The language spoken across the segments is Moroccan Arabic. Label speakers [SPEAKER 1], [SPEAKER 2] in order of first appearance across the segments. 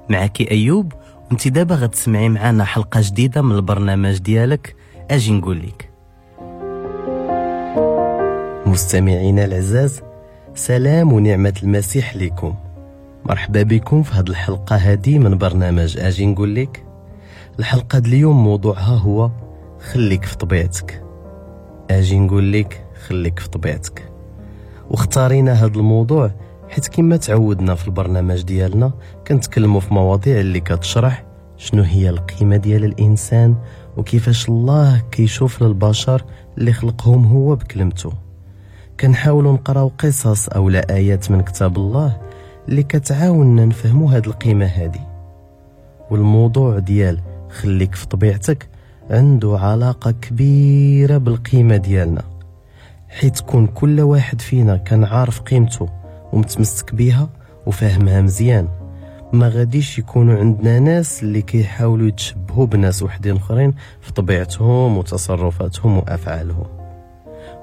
[SPEAKER 1] معك أيوب، وانت دابا غتسمعي معنا حلقة جديدة من البرنامج ديالك أجي نقول لك. مستمعينا العزاز، سلام ونعمة المسيح لكم. مرحبا بكم في هذه الحلقة هذه من برنامج أجي نقول لك. الحلقة اليوم موضوعها هو خليك في طبيعتك. أجي نقول لك خليك في طبيعتك. واختارينا هذا الموضوع حيت كما تعودنا في البرنامج ديالنا كنتكلموا في مواضيع اللي كتشرح شنو هي القيمة ديال الإنسان وكيفاش الله كيشوف للبشر اللي خلقهم هو بكلمته. كنحاولوا نقراو قصص أو لا آيات من كتاب الله اللي كتعاوننا نفهموا هاد القيمة هادي. والموضوع ديال خليك في طبيعتك عنده علاقة كبيرة بالقيمة ديالنا، حيت كون كل واحد فينا كان عارف قيمته ومتمسك بيها وفاهمها مزيان، ما غاديش يكونوا عندنا ناس اللي كيحاولوا يتشبهوا بناس وحدين اخرين في طبيعتهم وتصرفاتهم وافعالهم.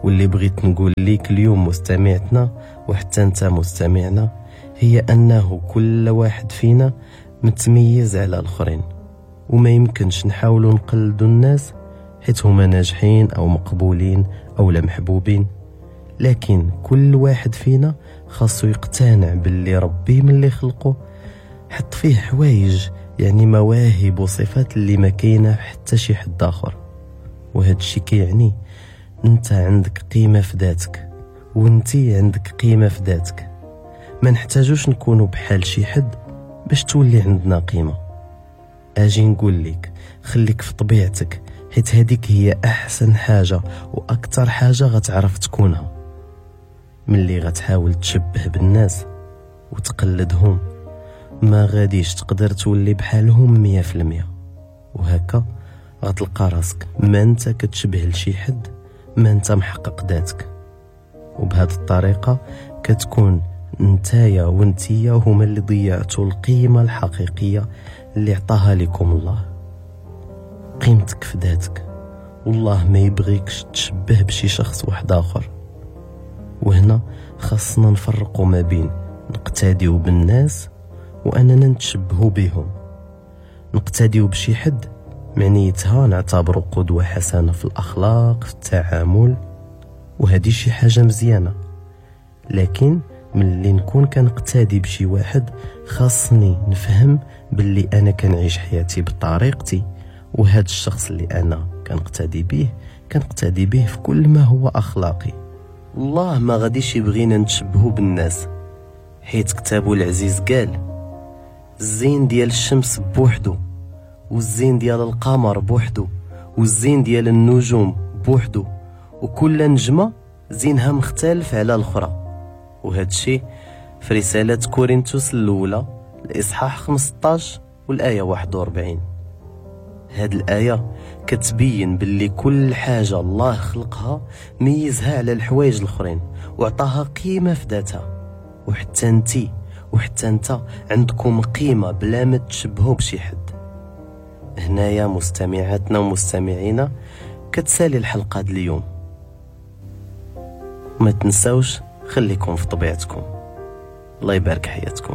[SPEAKER 1] واللي بغيت نقول ليك اليوم مستمعتنا وحتى انت مستمعنا، هي انه كل واحد فينا متميز على الاخرين، وما يمكنش نحاولوا نقلدوا الناس حيت هما ناجحين او مقبولين او لا محبوبين. لكن كل واحد فينا خاصو يقتنع باللي ربي من اللي خلقه حط فيه حوايج، يعني مواهب وصفات اللي ما كاينه حتى شي حد اخر. وهذا الشيء كيعني انت عندك قيمه في ذاتك وانتي عندك قيمه في ذاتك. ما نحتاجوش نكونوا بحال شي حد باش تولي عندنا قيمه. اجي نقول لك خليك في طبيعتك، حيت هذيك هي احسن حاجه واكثر حاجه غتعرف تكونها. ملي غتحاول تشبه بالناس وتقلدهم ما غاديش تقدر تولي بحالهم 100%، وهكا غتلقى راسك ما انت كتشبه لشي حد، ما انت محقق ذاتك. وبهذه الطريقه كتكون نتايا وانتيا هما اللي ضيعتوا القيمه الحقيقيه اللي عطاها لكم الله. قيمتك في ذاتك، والله ما يبغيكش تشبه بشي شخص واحد اخر. وهنا خاصنا نفرقوا ما بين نقتديو بالناس واننا نتشبهوا بهم. نقتديو بشي حد معنيتها نعتبره قدوة حسنة في الأخلاق في التعامل، وهذه شي حاجة مزيانة. لكن ملي نكون كنقتدي بشي واحد خاصني نفهم باللي أنا كنعيش حياتي بطريقتي، وهذا الشخص اللي أنا كنقتدي به كنقتدي به في كل ما هو أخلاقي. الله ما غاديش يبغينا نتشبهوا بالناس، حيت كتابه العزيز قال الزين ديال الشمس بوحدو، والزين ديال القمر بوحدو، والزين ديال النجوم بوحدو، وكل نجمة زينها مختلف على الأخرى. وهذا الشيء في رسالة كورنثوس الأولى الإصحاح 15 والآية 41. هاد الآية كتبين باللي كل حاجة الله خلقها ميزها على الحوايج الأخرين وعطاها قيمة في ذاتها. وحتى انتي وحتى انت عندكم قيمة بلا ما تشبهوا بشي حد. هنايا مستمعاتنا ومستمعينا كتسالي الحلقة ديال اليوم. ما تنساوش خليكم في طبيعتكم. الله يبارك حياتكم.